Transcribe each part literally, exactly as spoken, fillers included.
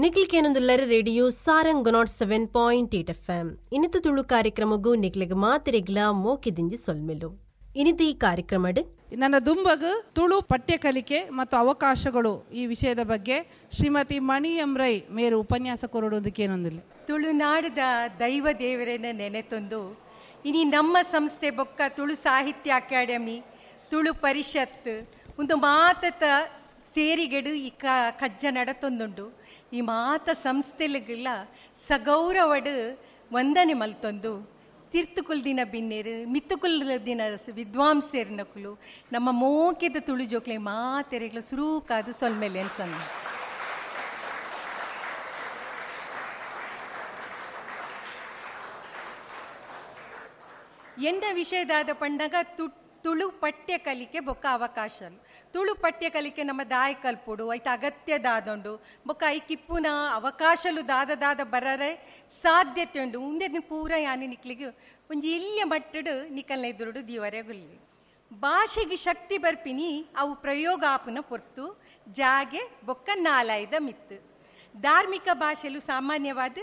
ನಿಕ್ಲಿಕೇನೊಂದುಲ್ಲರ radio Sarang nought seven point eight F M ಇನ್ನಿತ Tulu ಕಾರ್ಯಕ್ರಮಗೂ ನಿಕ್ಲೆಗ್ ಮಾತೆರೆಗ್ಲ ಮೋಕೆದಿಂಜಿ ಸೊಲ್ಮೆಲು. ಇನ್ನಿತ ಈ ಕಾರ್ಯಕ್ರಮಡ್ ನನ್ನ ದುಂಬಗು ತುಳು ಪಠ್ಯ ಕಲಿಕೆ ಮತ್ತು ಅವಕಾಶಗಳು ಈ ವಿಷಯದ ಬಗ್ಗೆ ಶ್ರೀಮತಿ ಮಣಿ ಎಂ ರೈ ಮೇರು ಉಪನ್ಯಾಸ ಕೊರಡುವುದಕ್ಕೇನೊಂದಿಲ್ಲ. ತುಳುನಾಡದ ದೈವ ದೇವರನ್ನ ನೆನೆತೊಂದು ಇನಿ ನಮ್ಮ ಸಂಸ್ಥೆ ಬೊಕ್ಕ ತುಳು ಸಾಹಿತ್ಯ ಅಕಾಡೆಮಿ ತುಳು ಪರಿಷತ್ ಒಂದು ಮಾತತ ಸೇರಿಗೆಡು ಈ ಕ ಕಜ್ಜ ನಡತೊಂದುಂಡು. ಈ ಮಾತ ಸಂಸ್ಥೆಲಿಗೆಲ್ಲ ಸಗೌರವಡು ವಂದನೆ ಮಲ್ತೊಂದು ತಿರ್ತುಕುಲ್ ದಿನ ಬಿನ್ನೇರು ಮಿತ್ತುಕುಲ್ ದಿನ ವಿದ್ವಾಂಸೇರ್ನಕುಲು ನಮ್ಮ ಮೋಕೆದ ತುಳು ಜೋಕ್ಲೆ ಮಾತೆರೆಗ್ಲ ಸುರೂಕಾದ ಸೊಲ್ಮೆಲೆ ಅನ್ಸಂದ. ಎಂದ ವಿಷಯದಾದ ಪಂಡಗ ತು ತುಳು ಪಠ್ಯ ಕಲಿಕೆ ಬೊಕ್ಕ ಅವಕಾಶ. ತುಳು ಪಠ್ಯ ಕಲಿಕೆ ನಮ್ಮ ದಾಯ ಕಲ್ಪುಡು ಐತ ಅಗತ್ಯದಾದುಂಡು ಬೊಕ್ಕ I ಕಿಪ್ಪುನ ಅವಕಾಶಲು ದಾದ ದಾದ ಬರರೆ ಸಾಧ್ಯತೆ ಉಂಡು. ಉಂದೆ ಪೂರ ಯಾನಿ ನಿಕ್ಲಿಗೆ ಒಂಜಿ ಎಲ್ಲಿಯ ಮಟ್ಟಡು ನಿಕಲ್ನ ಎದುರುಡು ದೀವರೆ ಗುಲ್ಲಿ ಭಾಷೆಗೆ ಶಕ್ತಿ ಬರ್ಪಿನಿ ಅವು ಪ್ರಯೋಗ ಆಪುನ ಪೊರ್ತು ಜಾಗೆ ಬೊಕ್ಕ ನಾಲಾಯ್ದ ಮಿತ್ತು. ಧಾರ್ಮಿಕ ಭಾಷೆಲು ಸಾಮಾನ್ಯವಾದ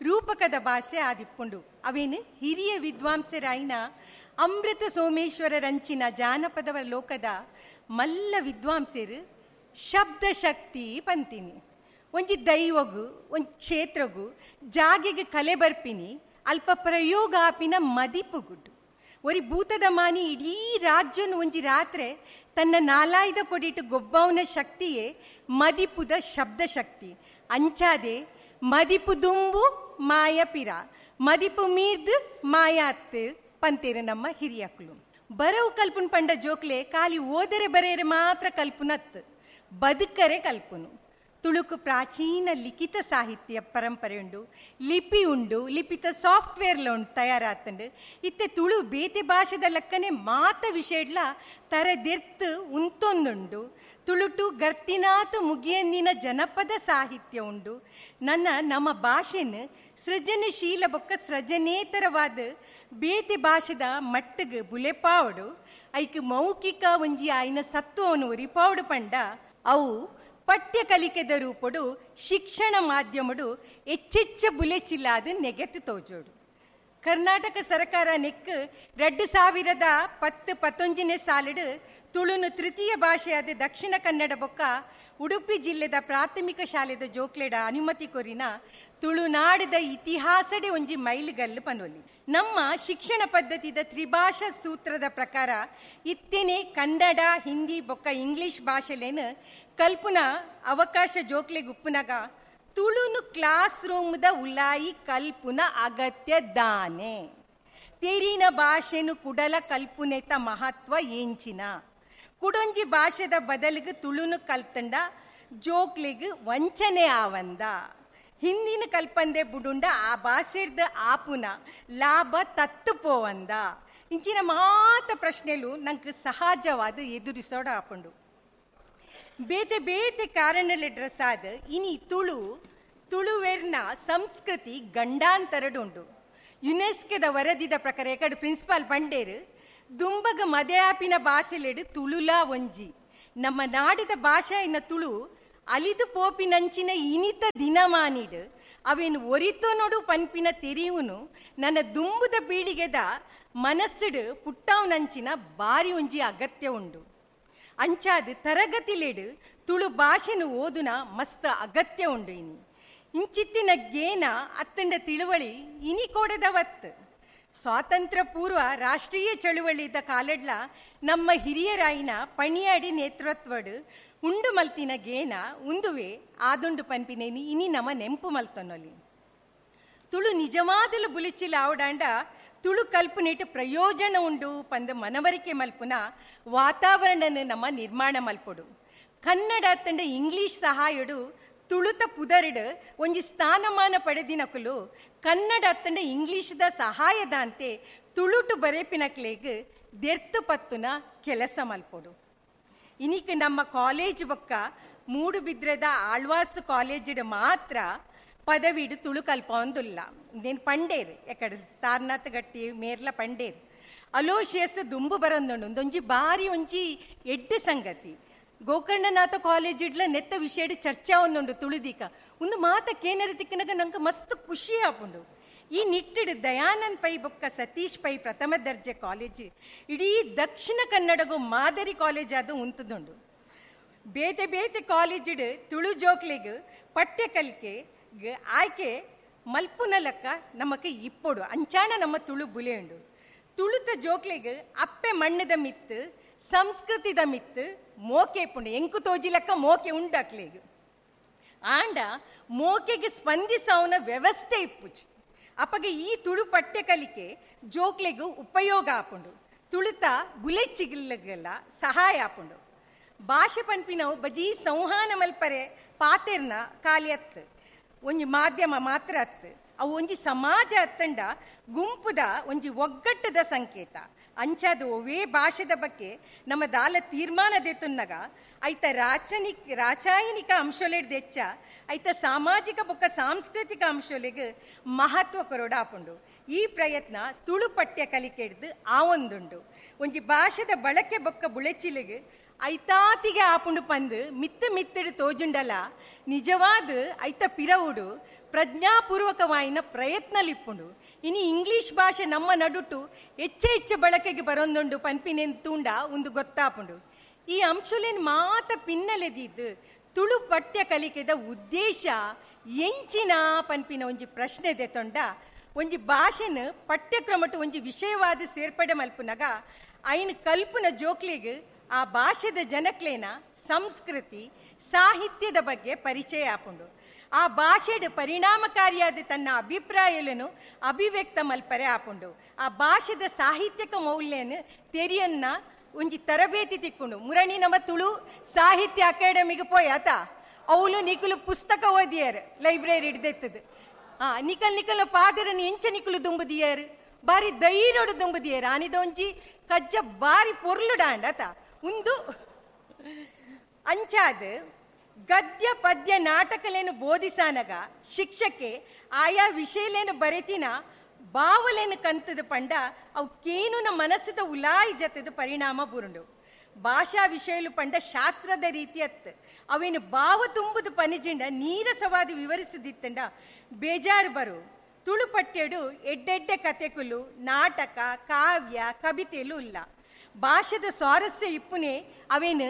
ರೂಪಕದ ಭಾಷೆ ಆದಿಪ್ಪುಂಡು. ಅವೇನು ಹಿರಿಯ ವಿದ್ವಾಂಸರಾಯಿನ ಅಮೃತ ಸೋಮೇಶ್ವರ ರಂಚಿನ ಜಾನಪದವ ಲೋಕದ ಮಲ್ಲ ವಿದ್ವಾಂಸರು ಶಬ್ದ ಶಕ್ತಿ ಪಂತೀನಿ. ಒಂಜಿ ದೈವಗು ಒಂಜಿ ಕ್ಷೇತ್ರಗು ಜಾಗೆಗೆ ಕಲೆ ಬರ್ಪಿನಿ ಅಲ್ಪ ಪ್ರಯೋಗ ಆಪಿನ ಮದಿಪುಗುಡ್ಡು. ಒರಿ ಭೂತದ ಮಾನಿ ಇಡೀ ರಾಜ್ಯನು ಒಂಜಿ ರಾತ್ರೆ ತನ್ನ ನಾಲಾಯ್ದ ಕೊಡಿಟ್ಟು ಗೊಬ್ಬವನ ಶಕ್ತಿಯೇ ಮದಿಪುದ ಶಬ್ದ ಶಕ್ತಿ. ಅಂಚಾದೆ ಮದಿಪು ದುಂಬು ಮಾಯಪಿರ ಮದಿಪು ಮೀರ್ದು ಮಾಯಾತ್ ಪಂತೇರು ನಮ್ಮ ಹಿರಿಯಕುಲು. ಬರವು ಕಲ್ಪುನ್ ಪಂಡ ಜೋಕ್ಲೆ ಖಾಲಿ ಓದರೆ ಬರೆಯರೆ ಮಾತ್ರ ಕಲ್ಪುನತ್ ಬದುಕರೆ ಕಲ್ಪುನು. ತುಳುಕು ಪ್ರಾಚೀನ ಲಿಖಿತ ಸಾಹಿತ್ಯ ಪರಂಪರೆ ಉಂಡು, ಲಿಪಿ ಉಂಡು, ಲಿಪಿತ ಸಾಫ್ಟ್ವೇರ್ಲ ಉಂಡು ತಯಾರಾತಂಡು. ಇತ್ತೆ ತುಳು ಬೇತೆ ಭಾಷೆದ ಲಕ್ಕನೆ ಮಾತ ವಿಷಯಡ್ಲ ತರದೆರ್ತು ಉಂತೊಂದುಂಡು. ತುಳುಟು ಗರ್ತಿನಾತು ಮುಗಿಯಂದಿನ ಜನಪದ ಸಾಹಿತ್ಯ ಉಂಡು. ನನ್ನ ನಮ್ಮ ಭಾಷೆನ ಸೃಜನಶೀಲ ಬೊಕ್ಕ ಸೃಜನೇತರವಾದ ಬೇತೆ ಭಾಷೆದ ಮಟ್ಟಗೆ ಬುಲೆಪಾವಡು ಐಕ್ ಮೌಖಿಕ ಒಂಜಿ ಆಯ್ನ ಸತ್ವವನ್ನು ಒರಿಪಾವಡು ಪಂಡ ಅವು ಪಠ್ಯ ಕಲಿಕೆದ ರೂಪಡು ಶಿಕ್ಷಣ ಮಾಧ್ಯಮಡು ಹೆಚ್ಚೆಚ್ಚ ಬುಲೆಚಿಲ್ಲಾದ ನೆಗೆತ್ತು ತೋಜೋಡು. ಕರ್ನಾಟಕ ಸರ್ಕಾರ ನೆಕ್ ಎರಡು ಸಾವಿರದ ಪತ್ತು ಪತ್ತೊಂಜನೇ ಸಾಲಿಡು ತುಳುನು ತೃತೀಯ ಭಾಷೆಯಾದ ದಕ್ಷಿಣ ಕನ್ನಡ ಬೊಕ್ಕ ಉಡುಪಿ ಜಿಲ್ಲೆದ ಪ್ರಾಥಮಿಕ ಶಾಲೆದ ಜೋಕ್ಲೆಡ ಅನುಮತಿ ಕೊರಿನ ತುಳುನಾಡದ ಇತಿಹಾಸಡೆ ಒಂಜಿ ಮೈಲುಗಲ್ಲು ಪನೊಲಿ. ನಮ್ಮ ಶಿಕ್ಷಣ ಪದ್ಧತಿದ ತ್ರಿಭಾಷಾ ಸೂತ್ರದ ಪ್ರಕಾರ ಇತ್ತೇನೆ ಕನ್ನಡ ಹಿಂದಿ ಬೊಕ್ಕ ಇಂಗ್ಲಿಷ್ ಭಾಷೆಲೇನು ಕಲ್ಪುನ ಅವಕಾಶ ಜೋಕ್ಲೆಗ್ ಉಪ್ಪುನಗ ತುಳುನು ಕ್ಲಾಸ್ ರೂಮ್ದ ಉಲಾಯಿ ಕಲ್ಪುನ ಅಗತ್ಯ ದಾನೆ. ತೆರಿನ ಭಾಷೆನು ಕುಡಲ ಕಲ್ಪುನೆತ ಮಹತ್ವ ಏಂಚಿನ ಕುಡೊಂಜಿ ಭಾಷೆದ ಬದಲಿಗೆ ತುಳುನು ಕಲ್ತಂಡ ಜೋಕ್ಲೆಗ್ ವಂಚನೆ ಆವಂದ. ಹಿಂದಿನ ಕಲ್ಪಂದೆ ಬುಡುಂಡ ಆ ಭಾಷೆದ ಆಪುನ ಲಾಭ ತತ್ತು ಪೋವಂದ. ಇಂಚಿನ ಮಾತ ಪ್ರಶ್ನೆಲು ನಂಗೆ ಸಹಜವಾದ ಎದುರಿಸೋಡ ಆಪುಂಡು. ಬೇತೆ ಬೇತೆ ಕಾರಣಲೆ ಡ್ರೆಸ್ ಆದ ಇನಿ ತುಳು ತುಳುವೆರ್ನ ಸಂಸ್ಕೃತಿ ಗಂಡಾಂತರಡುಂಡು. ಯುನೆಸ್ಕೋದ ವರದಿದ ಪ್ರಕಾರ ಎಕಡೆ ಪ್ರಿನ್ಸಿಪಾಲ್ ಬಂಡೇರು ದುಂಬಗ ಮದೆಯಾಪಿನ ಭಾಷೆಲೆಡು ತುಳುಲಾ ಒಂಜಿ ನಮ್ಮ ನಾಡಿದ ಭಾಷೆ ಇನ್ನ ತುಳು ಅಲಿದು ಪೋಪಿನಂಚಿನ ಇನಿತ ದಿನಮಾನಿಡು ಅವೇನು ಒರಿತೋ ನೋಡು ಪನ್ಪಿನ ತೆರಿಯುನು ನನ್ನ ದುಂಬುದ ಪೀಳಿಗೆದ ಮನಸ್ಸುಡು ಪುಟ್ಟಾವನಂಚಿನ ಬಾರಿ ಒಂಜಿ ಅಗತ್ಯ ಉಂಡು. ಅಂಚಾದ ತರಗತಿಲೆಡು ತುಳು ಭಾಷೆನು ಓದುನ ಮಸ್ತ್ ಅಗತ್ಯ ಉಂಡು. ಇನಿ ಇಂಚಿತ್ತಿನ ಗೇನ ಅತ್ತಂಡ ತಿಳುವಳಿ ಇನಿ ಕೋಡೆದವತ್ತು. ಸ್ವಾತಂತ್ರ್ಯ ಪೂರ್ವ ರಾಷ್ಟ್ರೀಯ ಚಳುವಳಿದ ಕಾಲಡ್ಲ ನಮ್ಮ ಹಿರಿಯರಾಯಿನ ಪಣಿಯಾಡಿ ನೇತೃತ್ವಡು ಉಂಡು ಮಲ್ತಿನ ಗೇನ ಉಂದುವೆ ಆದುಂಡು ಪನ್ಪಿನೇನಿ ಇನಿ ನಮ್ಮ ನೆಂಪು ಮಲ್ತನೊಲಿ. ತುಳು ನಿಜವಾದಲು ಬುಲಿಚಿಲ ಆವಡಾಂಡ ತುಳು ಕಲ್ಪನೆಟ್ ಪ್ರಯೋಜನ ಉಂಡು ಪಂದ ಮನವರಿಕೆ ಮಲ್ಪುನ ವಾತಾವರಣನ ನಮ್ಮ ನಿರ್ಮಾಣ ಮಲ್ಪೊಡು. ಕನ್ನಡ ತಂಡ ಇಂಗ್ಲೀಷ್ ಸಹಾಯಡು ತುಳುತ ಪುದರಿಡು ಒಂಜಿ ಸ್ಥಾನಮಾನ ಪಡೆದಿನಕುಲು ಕನ್ನಡ ತಂಡ ಇಂಗ್ಲೀಷ್ದ ಸಹಾಯದಂತೆ ತುಳುಟು ಬರೆಪಿನಕ್ಲೆಗ್ ದೆರ್ತು ಪತ್ತುನ ಕೆಲಸ ಮಲ್ಪೊಡು. ಇನಿಕ್ ನಮ್ಮ ಕಾಲೇಜ್ ಬೊಕ್ಕ ಮೂಡುಬಿದ್ರೆದ ಆಳ್ವಾಸ್ ಕಾಲೇಜಿಡ್ ಮಾತ್ರ ಪದವಿಡು ತುಳು ಕಲ್ಪೊಂದುಲ್ಲ. ನೇನು ಪಂಡೇರು ಎಕಡೆ ತಾರ್ನಾಥ್ ಗಟ್ಟಿ ಮೇರ್ಲ ಪಂಡೇರು ಅಲೋಶಿಯಸ್ ದುಂಬು ಬರೊಂದುಂಡು. ಒಂದೊಂಜಿ ಬಾರಿ ಒಂಜಿ ಎಡ್ಡು ಸಂಗತಿ. ಗೋಕರ್ಣನಾಥ ಕಾಲೇಜ್ ಇಡ್ಲ ನೆತ್ತ ವಿಷಯಡ್ ಚರ್ಚೆ ಒಂದುಂಡು ತುಳುದೀಕ ಒಂದು ಮಾತ ಕೇನರ ತಿಕ್ಕನಗ ನಂಗೆ ಮಸ್ತ್ ಖುಷಿ ಆಪುಂಡು. ಈ ನಿಟ್ಟಿಡು ದಯಾನಂದ್ ಪೈ ಬೊಕ್ಕ ಸತೀಶ್ ಪೈ ಪ್ರಥಮ ದರ್ಜೆ ಕಾಲೇಜ್ ಇಡೀ ದಕ್ಷಿಣ ಕನ್ನಡಗೂ ಮಾದರಿ ಕಾಲೇಜ್ ಅದು ಉಂತುದುಂಡು. ಬೇತೆ ಬೇತೆ ಕಾಲೇಜಿಡು ತುಳು ಜೋಕ್ಲೆಗ್ ಪಠ್ಯ ಕಲಿಕೆ ಆಯ್ಕೆ ಮಲ್ಪುನ ಲೆಕ್ಕ ನಮಕ್ ಇಪ್ಪೊಡು ಅಂಚಾಣ ನಮ್ಮ ತುಳು ಬುಲೆಯುಂಡು. ತುಳುತ ಜೋಕ್ಲೆಗ್ ಅಪ್ಪೆ ಮಣ್ಣದ ಮಿತ್ತು ಸಂಸ್ಕೃತಿದ ಮಿತ್ತು ಮೋಕೆ ಪುಂಡು ಎಂಕು ತೋಜಿ ಲೆಕ್ಕ ಮೋಕೆ ಉಂಡಾಕ್ಲೆಗ್ ಆಂಡ ಮೋಕೆಗೆ ಸ್ಪಂದಿಸವನ ವ್ಯವಸ್ಥೆ ಇಪ್ಪುಜಿ. ಅಪ್ಪಗೆ ಈ ತುಳು ಪಠ್ಯ ಕಲಿಕೆ ಜೋಕ್ಲೆಗ್ ಉಪಯೋಗ ಆಪುಂಡು, ತುಳುತ ಬುಲೆಚ್ಚಿಗೆಲ್ಲ ಸಹಾಯ ಆಪುಂಡು. ಭಾಷೆ ಪನ್ಪಿನವು ಬಜೀ ಸಂವಹನ ಮಲ್ಪರೆ ಪಾತೆರ್ನ ಖಾಲಿ ಅತ್ತು ಒಂಜಿ ಮಾಧ್ಯಮ ಮಾತ್ರ ಅತ್ತು, ಅವು ಒಂಜಿ ಸಮಾಜ ಅತ್ತಂಡ ಗುಂಪುದ ಒಂಜಿ ಒಗ್ಗಟ್ಟದ ಸಂಕೇತ. ಅಂಚಾದ ಒವೇ ಭಾಷೆದ ಬಗ್ಗೆ ನಮ್ಮ ದಾಲ ತೀರ್ಮಾನ ದೆತ್ತುನ್ನಗ ಐತ ರಾಚನಿಕ್ ರಾಚಾಯನಿಕ ಅಂಶಲೆಡ್ ದೆಚ್ಚ ಐತ ಸಾಮಾಜಿಕ ಬೊಕ್ಕ ಸಾಂಸ್ಕೃತಿಕ ಅಂಶಲೆಗ್ ಮಹತ್ವ ಕೊರೊಡ ಆಪುಂಡು. ಈ ಪ್ರಯತ್ನ ತುಳು ಪಠ್ಯ ಕಲಿಕೆಡ್ದು ಆವೊಂದುಂಡು. ಒಂಜಿ ಭಾಷೆದ ಬಳಕೆ ಬೊಕ್ಕ ಬುಳೆಚಿಲಿಗೆ ಐತಾತಿಗೆ ಆಪುಂಡು ಪಂದು ಮಿತ್ತು ಮಿತ್ತಡು ತೋಜುಂಡಲ ನಿಜವಾದ ಐತ ಪಿರವುಡು ಪ್ರಜ್ಞಾಪೂರ್ವಕವಾಯಿನ ಪ್ರಯತ್ನಲಿಪ್ಪುಂಡು. ಇನಿ ಇಂಗ್ಲೀಷ್ ಭಾಷೆ ನಮ್ಮ ನಡುಟು ಹೆಚ್ಚೆ ಹೆಚ್ಚು ಬಳಕೆಗೆ ಬರೊಂದುಂಡು ಪನ್ಪಿನೆನ್ ತೂಂಡ ಒಂದು ಗೊತ್ತಾಪುಂಡು. ಈ ಅಂಶಲೇನ್ ಮಾತ ಪಿನ್ನಲೆದಿದ್ದು ತುಳು ಪಠ್ಯ ಕಲಿಕೆದ ಉದ್ದೇಶ ಎಂಚಿನ ಪನ್ಪಿನ ಒಂಜಿ ಪ್ರಶ್ನೆ ದೆತೊಂಡ ಒಂಜಿ ಭಾಷೆನ ಪಠ್ಯಕ್ರಮಟು ಒಂಜಿ ವಿಷಯವಾದ ಸೇರ್ಪಡೆ ಮಲ್ಪುನಗ ಐನ್ ಕಲ್ಪುನ ಜೋಕ್ಲೆಗ್ ಆ ಭಾಷೆದ ಜನಕ್ಲೇನ ಸಂಸ್ಕೃತಿ ಸಾಹಿತ್ಯದ ಬಗ್ಗೆ ಪರಿಚಯ ಆಪುಂಡು. ಆ ಭಾಷೆಡ್ ಪರಿಣಾಮಕಾರಿಯಾದ ತನ್ನ ಅಭಿಪ್ರಾಯలను ಅಭಿವ್ಯಕ್ತ ಮಲ್ಪರೆ ಆಪುಂಡು. ಆ ಭಾಷೆದ ಸಾಹಿತ್ಯಕ ಮೌಲ್ಯನ ತೆರಿಯನ್ನ ಒಂಜಿ ತರಬೇತಿ ತಿಕ್ಕೊಂಡು ಮುರಣಿ ನಮ್ಮ ತುಳು ಸಾಹಿತ್ಯ ಅಕಾಡೆಮಿಗೆ ಪೋಯ್ ಆತ ಅವಳು ನಿಕುಲು ಪುಸ್ತಕ ಓದಿಯಾರು ಲೈಬ್ರರಿ ಹಿಡ್ದೆತ್ತದು. ಆ ನಿಕಲ್ ನಿಕಲ್ ಪಾದರನ್ನು ಎಂಚ ನಿಕುಲು ದುಂಬುದಿಯಾರು ಬಾರಿ ಧೈರ್ಯಡು ದುಂಬುದಿಯಾರು ಆನಿದೊಂಜಿ ಕಜ್ಜ ಬಾರಿ ಪೊರ್ಲುಡಾಂಡ ಆತ ಉಂದು ಅಂಚಾದ ಗದ್ಯ ಪದ್ಯ ನಾಟಕಲೇನು ಬೋಧಿಸಾನಗ ಶಿಕ್ಷಕೆ ಆಯಾ ವಿಷಯಲೇನು ಬರೆತಿನ ಬಾವಲೇನು ಕಂತದ ಪಂಡ ಅವು ಕೇನುನ ಮನಸ್ಸದ ಉಲಾಯಿ ಜತದ ಪರಿಣಾಮ ಬುರುಂಡು. ಭಾಷಾ ವಿಷಯಲು ಪಂಡ ಶಾಸ್ತ್ರದ ರೀತಿಯತ್ತು ಅವೇನು ಬಾವ ತುಂಬುದು ಪನಿಜಿಂಡ ನೀರಸವಾದ ವಿವರಿಸದಿತ್ತಂಡ ಬೇಜಾರು ಬರು. ತುಳು ಪಠ್ಯಡು ಎಡ್ಡೆಡ್ಡೆ ಕತೆಕುಲು ನಾಟಕ ಕಾವ್ಯ ಕವಿತೆಲು ಇಲ್ಲ. ಭಾಷೆದ ಸ್ವಾರಸ್ಯ ಇಪ್ಪುನೆ ಅವೇನು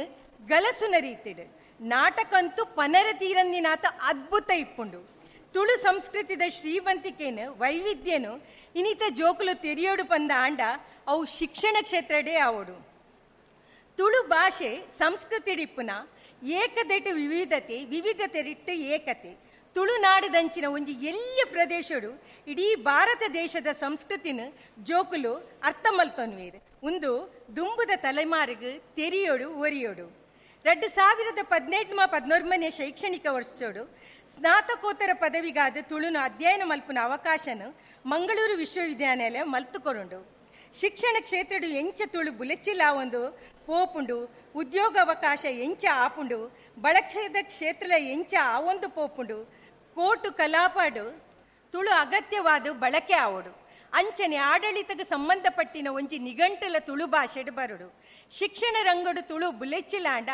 ಗಲಸುನ ರೀತಿಡು ನಾಟಕಂತೂ ಪನರ ತೀರಂದಿನಾತ ಅದ್ಭುತ ಇಪ್ಪುಂಡು. ತುಳು ಸಂಸ್ಕೃತಿದ ಶ್ರೀಮಂತಿಕೇನು ವೈವಿಧ್ಯನು ಇನ್ನಿತ ಜೋಕುಲು ತೆರಿಯೋಡು ಪಂದ ಆಂಡ ಅವು ಶಿಕ್ಷಣ ಕ್ಷೇತ್ರಡೇ ಆವೋಡು. ತುಳು ಭಾಷೆ ಸಂಸ್ಕೃತಿಡಿಪ್ಪುನ ಏಕದೆಟ್ಟು ವಿವಿಧತೆ ವಿವಿಧತೆರಿಟ್ಟು ಏಕತೆ. ತುಳುನಾಡದಂಚಿನ ಒಂಜಿ ಎಲ್ಲಿಯ ಪ್ರದೇಶಡು ಇಡೀ ಭಾರತ ದೇಶದ ಸಂಸ್ಕೃತಿನ ಜೋಕುಲು ಅರ್ಥ ಮಲ್ತೊನ್ವೀರ್ ಒಂದು ದುಂಬುದ ತಲೆಮಾರಿಗೆ ತೆರಿಯೋಡು ಒರಿಯೋಡು. ಎರಡು ಸಾವಿರದ ಪದಿನೆಂಟು ಪದಿನೊರ್ಮನೆ ಶೈಕ್ಷಣಿಕ ವರ್ಷೋಡು ಸ್ನಾತಕೋತ್ತರ ಪದವಿಗಾದ ತುಳುನ ಅಧ್ಯಯನ ಮಲ್ಪುನ ಅವಕಾಶನು ಮಂಗಳೂರು ವಿಶ್ವವಿದ್ಯಾನಿಲಯ ಮಲ್ತುಕೊರುಂಡು. ಶಿಕ್ಷಣ ಕ್ಷೇತ್ರಡು ಎಂಚ ತುಳು ಬುಲೆಚ್ಚಿಲ ಒಂದು ಪೋಪುಂಡು, ಉದ್ಯೋಗಾವಕಾಶ ಎಂಚ ಆಪುಂಡು, ಬಳಕೆದ ಕ್ಷೇತ್ರ ಎಂಚ ಆವೊಂದು ಪೋಪುಂಡು, ಕೋಟು ಕಲಾಪಾಡು ತುಳು ಅಗತ್ಯವಾದ ಬಳಕೆ ಆವೋಡು. ಅಂಚನೆ ಆಡಳಿತಕ್ಕೆ ಸಂಬಂಧಪಟ್ಟಿನ ಒಂಜಿ ನಿಘಂಟಲ ತುಳು ಭಾಷೆಡು ಬರುಡು. ಶಿಕ್ಷಣ ರಂಗಡು ತುಳು ಬುಲೆಚ್ಚಿಲಾಂಡ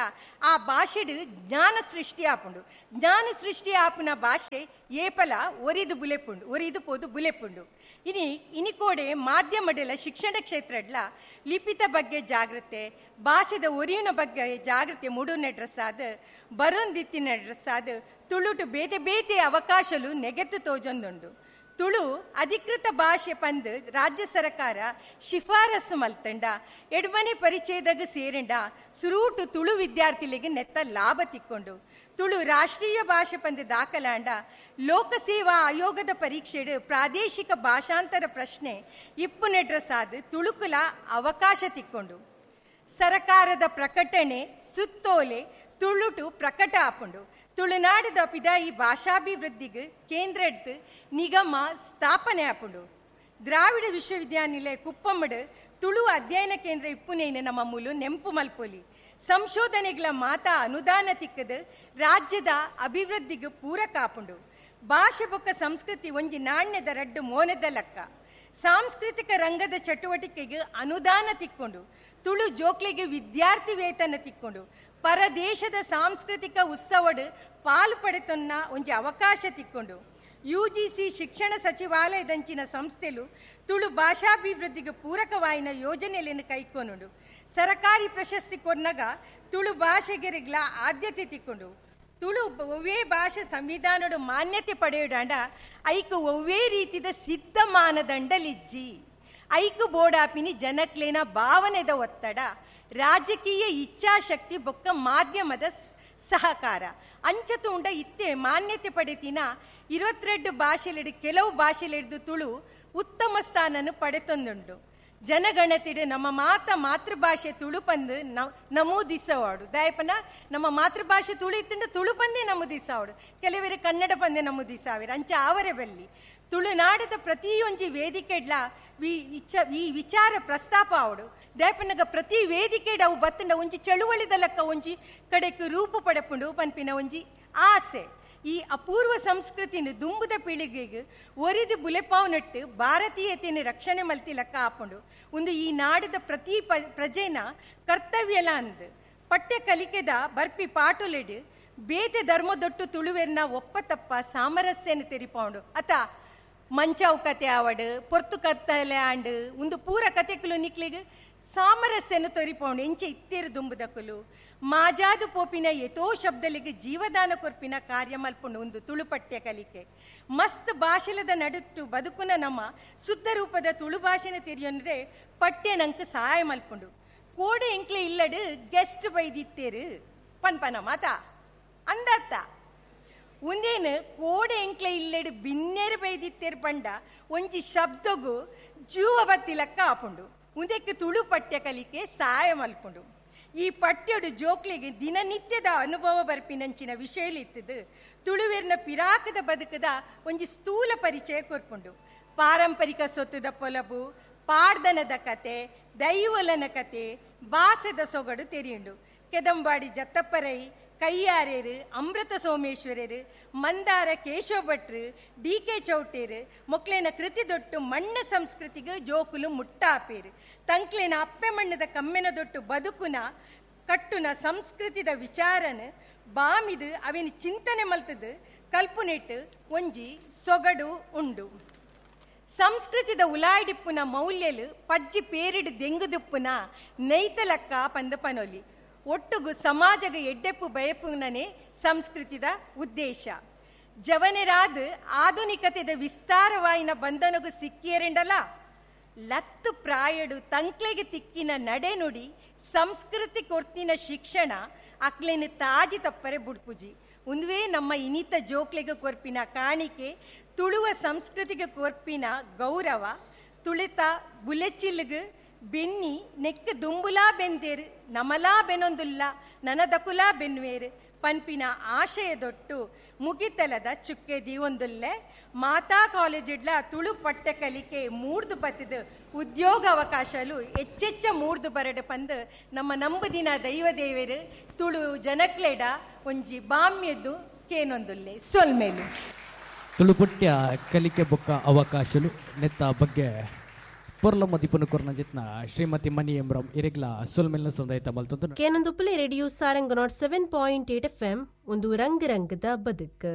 ಆ ಭಾಷೆಡು ಜ್ಞಾನ ಸೃಷ್ಟಿ ಆಪುಂಡು. ಜ್ಞಾನ ಸೃಷ್ಟಿ ಆಪುನ ಭಾಷೆ ಏಪಲ ಒರಿದು ಬುಲೆಪುಂಡು ಒರಿದು ಪೋದು ಬುಲೆಪುಂಡು. ಇನಿ ಇನಿಕೋಡೆ ಮಾಧ್ಯಮಡೆಲ್ಲ ಶಿಕ್ಷಣ ಕ್ಷೇತ್ರಡ್ಲ ಲಿಪಿತ ಬಗ್ಗೆ ಜಾಗೃತೆ ಭಾಷೆದ ಒರಿಯುನ ಬಗ್ಗೆ ಜಾಗೃತೆ ಮೂಡುನ ಡ್ರೆಸ್ ಆದ ಬರೊಂದಿತ್ತಿನ ಡ್ರೆಸ್ ಆದ ತುಳುಟು ಬೇತೆ ಬೇತೆ ಅವಕಾಶಲು ನೆಗೆತ್ತು ತೋಜೊಂದುಂಡು. ತುಳು ಅಧಿಕೃತ ಭಾಷೆ ಪಂದು ರಾಜ್ಯ ಸರ್ಕಾರ ಶಿಫಾರಸು ಮಲ್ತಂಡ ಎಡ್ಮನೆ ಪರಿಚಯದಾಗ ಸೇರಂಡ ಸುರೂಟು ತುಳು ವಿದ್ಯಾರ್ಥಿಗಳಿಗೆ ನೆತ್ತ ಲಾಭ ತಿಕ್ಕೊಂಡು. ತುಳು ರಾಷ್ಟ್ರೀಯ ಭಾಷೆ ಪಂದು ದಾಖಲಾಂಡ ಲೋಕಸೇವಾ ಆಯೋಗದ ಪರೀಕ್ಷೆಡು ಪ್ರಾದೇಶಿಕ ಭಾಷಾಂತರ ಪ್ರಶ್ನೆ ಇಪ್ಪು ನೆಡ್ರಸಾದ ತುಳುಕುಲ ಅವಕಾಶ ತಿಕ್ಕೊಂಡು. ಸರಕಾರದ ಪ್ರಕಟಣೆ ಸುತ್ತೋಲೆ ತುಳುಟು ಪ್ರಕಟ ಆಪುಂಡು. ತುಳುನಾಡದ ಪಿದಾಯಿ ಭಾಷಾಭಿವೃದ್ಧಿಗೆ ಕೇಂದ್ರದ್ದು ನಿಗಮ ಸ್ಥಾಪನೆ ಆಪುಂಡು. ದ್ರಾವಿಡ ವಿಶ್ವವಿದ್ಯಾನಿಲಯ ಕುಪ್ಪಮ್ಮಡು ತುಳು ಅಧ್ಯಯನ ಕೇಂದ್ರ ಇಪ್ಪುನೇನು ನಮ್ಮ ಮೂಲು ನೆಂಪು ಮಲ್ಪೊಲಿ. ಸಂಶೋಧನೆಗಳ ಮಾತಾ ಅನುದಾನ ತಿಕ್ಕದು ರಾಜ್ಯದ ಅಭಿವೃದ್ಧಿಗೆ ಪೂರಕ ಆಪುಂಡು. ಭಾಷೆ ಬೊಕ್ಕ ಸಂಸ್ಕೃತಿ ಒಂಜಿ ನಾಣ್ಯದ ರಡ್ಡು ಮೋನದ ಲೆಕ್ಕ. ಸಾಂಸ್ಕೃತಿಕ ರಂಗದ ಚಟುವಟಿಕೆಗೆ ಅನುದಾನ ತಿಕ್ಕೊಂಡು ತುಳು ಜೋಕ್ಲೆಗೆ ವಿದ್ಯಾರ್ಥಿ ವೇತನ ತಿಕ್ಕೊಂಡು. ಪರದೇಶದ ಸಾಂಸ್ಕೃತಿಕ ಉತ್ಸವಡು ಪಾಲು ಪಡೆತೊನ್ನ ಒಂಜಿ ಅವಕಾಶ ತಿಕ್ಕೊಂಡು. ಯು ಜಿ ಸಿ ಶಿಕ್ಷಣ ಸಚಿವಾಲಯದಂಚಿನ ಸಂಸ್ಥೆಲು ತುಳು ಭಾಷಾಭಿವೃದ್ಧಿಗೆ ಪೂರಕವಾಯಿನ ಯೋಜನೆಯನ್ನು ಕೈಕೊನುಂಡು. ಸರಕಾರಿ ಪ್ರಶಸ್ತಿ ಕೊನ್ನಗ ತುಳು ಭಾಷೆಗೆರಿಗ್ಲ ಆದ್ಯತೆ ತಿಕ್ಕೊಂಡು. ತುಳು ಒವ್ವೇ ಭಾಷೆ ಸಂವಿಧಾನಡು ಮಾನ್ಯತೆ ಪಡೆಯುಡಾಂಡ ಐಕು ಒವ್ವೇ ರೀತಿದ ಸಿದ್ಧ ಮಾನದಂಡಲಿಜ್ಜಿ. ಐಕು ಬೋಡಾಪಿನಿ ಜನಕ್ಲೇನ ಭಾವನೆದ ಒತ್ತಡ, ರಾಜಕೀಯ ಇಚ್ಛಾಶಕ್ತಿ ಬೊಕ್ಕ ಮಾಧ್ಯಮದ ಸಹಕಾರ ಅಂಚತುಂಡ ಇತ್ತೆ ಮಾನ್ಯತೆ ಪಡೆತಿನ ಇರುವತ್ತೆರಡು ಭಾಷೆಲಿಡು ಕೆಲವು ಭಾಷೆಲಿಡ್ದು ತುಳು ಉತ್ತಮ ಸ್ಥಾನನು ಪಡೆತೊಂದುಂಡು. ಜನಗಣತಿಡು ನಮ್ಮ ಮಾತ ಮಾತೃಭಾಷೆ ತುಳು ಪಂದು ನಮೂದಿಸವಾಡು. ದಯಪನ ನಮ್ಮ ಮಾತೃಭಾಷೆ ತುಳು ಇತ್ತಂಡ ತುಳು ಪಂದೇ ನಮೂದಿಸಾವಡು, ಕೆಲವರು ಕನ್ನಡ ಪಂದೇ ನಮೂದಿಸಾವಿರ ಅಂಚ ಆವರೆ ಬಲ್ಲಿ. ತುಳುನಾಡದ ಪ್ರತಿಯೊಂಜಿ ವೇದಿಕೆಡ್ಲ ವಿ ಇಚ್ಛ ಈ ವಿಚಾರ ಪ್ರಸ್ತಾಪ ಆವಡು. ದಯಪನಗ ಪ್ರತಿ ವೇದಿಕೆಡ್ ಅವು ಬತ್ತಂಡ ಒಂಜಿ ಚಳುವಳಿದ ಲೆಕ್ಕ ಒಂಜಿ ಕಡೆಕ್ ರೂಪು ಪಡೆಪುಂಡು ಪನ್ಪಿನ ಒಂಜಿ ಆಸೆ. ಈ ಅಪೂರ್ವ ಸಂಸ್ಕೃತಿನ ದುಂಬುದ ಪೀಳಿಗೆಗೆ ಒರಿದು ಬುಲೆಪಾವು ನಟ್ಟು ಭಾರತೀಯತೆಯನ್ನು ರಕ್ಷಣೆ ಮಲ್ತಿ ಲೆಕ್ಕ ಆಪುಂಡು. ಒಂದು ಈ ನಾಡದ ಪ್ರತಿ ಪ ಪ್ರಜೆನ ಕರ್ತವ್ಯಲ ಅಂದ್ ಪಠ್ಯ ಕಲಿಕೆದ ಬರ್ಪಿ ಪಾಟುಲೆಡು ಬೇತೆ ಧರ್ಮದೊಟ್ಟು ತುಳುವೆರ್ನ ಒಪ್ಪ ತಪ್ಪ ಸಾಮರಸ್ಯನ ತೆರಿಪೌಂಡು. ಅತ ಮಂಚಾವು ಕತೆ ಆವಡು, ಪೊರ್ತು ಕತ್ತಲೆ ಆಂಡು ಒಂದು ಪೂರ ಕತೆಕುಲು ನಿಕ್ಲಿಗೆ ಸಾಮರಸ್ಯನ ತೊರಿಪೌಂಡು. ಎಂಚೆ ಇತ್ತೇರು ದುಂಬುದಕುಲು ಮಾಜಾದು ಪೋಪಿನ ಎತೋ ಶಬ್ದಲಿಗೆ ಜೀವದಾನ ಕೊರ್ಪಿನ ಕಾರ್ಯ ಮಲ್ಪುಂಡು ಒಂದು ತುಳು ಪಠ್ಯ ಕಲಿಕೆ. ಮಸ್ತ್ ಭಾಷೆಲದ ನಡುಟ್ಟು ಬದುಕುನ ನಮ್ಮ ಶುದ್ಧ ರೂಪದ ತುಳು ಭಾಷೆನ ತೆರಿಯೊಂದ್ರೆ ಪಠ್ಯ ನಂಗೆ ಸಹಾಯ ಮಲ್ಪುಂಡು. ಕೋಡೆ ಎಂಕ್ಲೆ ಇಲ್ಲಡು ಗೆಸ್ಟ್ ಬೈದಿತ್ತೇರು ಪನ್ಪನ ಮಾತಾ ಅಂದತ್ತ ಒಂದೇನು ಕೋಡೆ ಎಂಕ್ಲೆ ಇಲ್ಲಡು ಬಿನ್ನೇರು ಬೈದಿತ್ತೇರು ಪಂಡ ಒಂಜಿ ಶಬ್ದಗು ಜೀವ ಬತ್ತಿಲಕ್ಕ ಆಪುಂಡು. ಉಂದಕ್ಕೆ ತುಳು ಪಠ್ಯ ಕಲಿಕೆ ಸಹಾಯ ಮಲ್ಪುಂಡು. ಈ ಪಠ್ಯಡು ಜೋಕ್ಲಿಗೆ ದಿನನಿತ್ಯದ ಅನುಭವ ಬರ್ಪಿನಂಚಿನ ವಿಷಯಲಿತ್ತದು ತುಳುವೆರ್ನ ಪಿರಾಕದ ಬದುಕದ ಒಂಜಿ ಸ್ಥೂಲ ಪರಿಚಯ ಕೊರ್ಪುಂಡು. ಪಾರಂಪರಿಕ ಸೊತ್ತುದ ಪೊಲಬು, ಪಾಡ್ದನದ ಕತೆ, ದೈವಲನ ಕತೆ, ಬಾಸದ ಸೊಗಡು ತೆರಿಯುಂಡು. ಕೆದಂಬಾಡಿ ಜತ್ತಪ್ಪರೈ, ಕೈಯಾರೇರು, ಅಮೃತ ಸೋಮೇಶ್ವರರು, ಮಂದಾರ ಕೇಶವ ಭಟ್ರು, ಡಿ ಕೆ ಚೌಟೇರು ಮೊಕ್ಲೇನ ಕೃತಿ ದೊಟ್ಟು ಮಣ್ಣ ಸಂಸ್ಕೃತಿಗೆ ಜೋಕುಲು ಮುಟ್ಟಾಪೇರು. ತಂಕ್ಲೇನ ಅಪ್ಪೆ ಮಣ್ಣದ ಕಮ್ಮೆನ ದೊಟ್ಟು ಬದುಕುನ ಕಟ್ಟುನ ಸಂಸ್ಕೃತಿದ ವಿಚಾರನ ಬಾಮಿದು ಅವೇನು ಚಿಂತನೆ ಮಲ್ತದು ಕಲ್ಪುನೆಟ್ಟು ಒಂಜಿ ಸೊಗಡು ಉಂಡು. ಸಂಸ್ಕೃತಿದ ಉಲಾಡಿಪ್ಪುನ ಮೌಲ್ಯಲು ಪಜ್ಜಿ ಪೇರಿಡು ದೆಂಗುದುಪ್ಪುನ ನೈತಲಕ್ಕ ಪಂದ ಪನೊಲಿ. ಒಟ್ಟುಗು ಸಮಾಜಗ ಎಡ್ಡೆಪ್ಪು ಬಯಪುನನೇ ಸಂಸ್ಕೃತಿದ ಉದ್ದೇಶ. ಜವನರಾದ ಆಧುನಿಕತೆದ ವಿಸ್ತಾರವಾಯಿನ ಬಂಧನಗು ಸಿಕ್ಕಿಯರೆಂಡಲ ಲತ್ತು ಪ್ರಾಯಡು ತಂಕ್ಲೆಗೆ ತಿಕ್ಕಿನ ನಡೆನುಡಿ ಸಂಸ್ಕೃತಿ ಕೊರ್ತಿನ ಶಿಕ್ಷಣ ಅಕ್ಲೇನು ತಾಜಿ ತಪ್ಪರೆ ಬುಡ್ಪುಜಿ. ಉಂದುವೇ ನಮ್ಮ ಇನಿತ ಜೋಕ್ಲೆಗೆ ಕೊರ್ಪಿನ ಕಾಣಿಕೆ, ತುಳುವ ಸಂಸ್ಕೃತಿಗೆ ಕೊರ್ಪಿನ ಗೌರವ. ತುಳಿತ ಬುಲೆಚಿಲ್ಗ್ ಬೆನ್ನಿ ನೆಕ್ ದುಂಬುಲಾ ಬೆಂದೇರು, ನಮಲಾ ಬೆನೊಂದುಲ್ಲ, ನನದಕುಲಾ ಬೆನ್ವೇರು ಪನ್ಪಿನ ಆಶಯದೊಟ್ಟು ಮುಗಿತಲದ ಚುಕ್ಕೆ ದೀವೊಂದುಲ್ಲೆ. ಮಾತಾ ಕಾಲೇಜಿಡ್ಲ ತುಳು ಪಠ್ಯ ಕಲಿಕೆ ಮೂರ್ದು ಬತ್ತಿದು ಉದ್ಯೋಗ ಅವಕಾಶಲು ಹೆಚ್ಚೆಚ್ಚ ಮೂರ್ದು ಬರಡು ಪಂದು ನಮ್ಮ ನಂಬುದಿನ ದೈವ ದೇವರು ತುಳು ಜನಕ್ಲೆಡ ಒಂಜಿ ಬಾಮ್ಯದ್ದು ಕೇನೊಂದುಲ್ಲೆ ಸೊಲ್ಮೇಲು. ತುಳು ಪಠ್ಯ ಕಲಿಕೆ ಬೊಕ್ಕ ಅವಕಾಶಲು ನೆತ್ತ ಬಗ್ಗೆ ಪೊರ್ಲ ಮದಿಪುನ ಕೊರ್ನ ಜಿತ್ನ ಶ್ರೀಮತಿ ಮಣಿ ಎಂಬ್ರಂ ಇರಿಗ್ಲ ಸೊಲ್ಮೆಲ್ನ ಸಂದಾಯಿತ ಮಲ್ತೊಂದು. ಕೇನೊಂದುಪ್ಪಲೆ radio Sarang nought seven point eight F M ಒಂದು ರಂಗ ರಂಗದ ಬದುಕು.